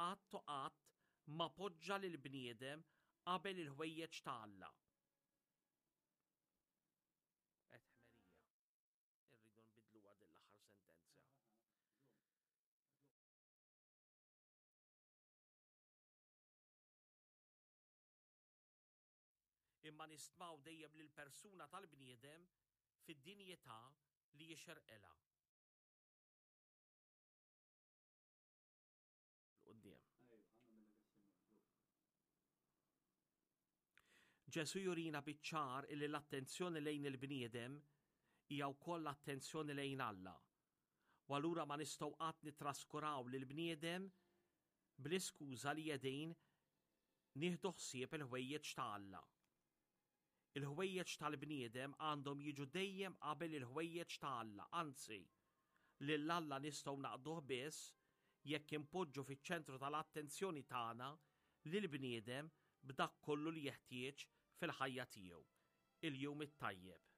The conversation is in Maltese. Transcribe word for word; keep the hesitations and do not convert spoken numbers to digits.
qatt u qatt ma poġġa lill-bniedem qabel il-ħwejjeġ ta' Alla. Qed ħmerija. Irridu nbidluha din l-aħħar sentenza. Imma nistmaw dejjem lill-persuna tal-bniedem fid-dinjità li jixirqilha. Quddiem. Ġesù jurina biċ-ċar illi l-attenzjoni lejn il-bniedem hija wkoll l-attenzjoni lejn Alla. U allura ma nistgħu qatt nittraskuraw lill-bniedem bl-iskuża li qegħdin nieħdu ħsieb il-ħwejjeġ ta' Alla. Il-ħwejjeġ tal-bniedem għandhom jiġu dejjem qabel il-ħwejjeġ ta' Alla, anzi, lil Alla nistgħu naqduh biss jekk inpoġġu fiċ-ċentru tal-attenzjoni tagħna lill-bniedem b'dak kollu li jeħtieġ fil-ħajja tiegħu. Il-jum it-tajjeb.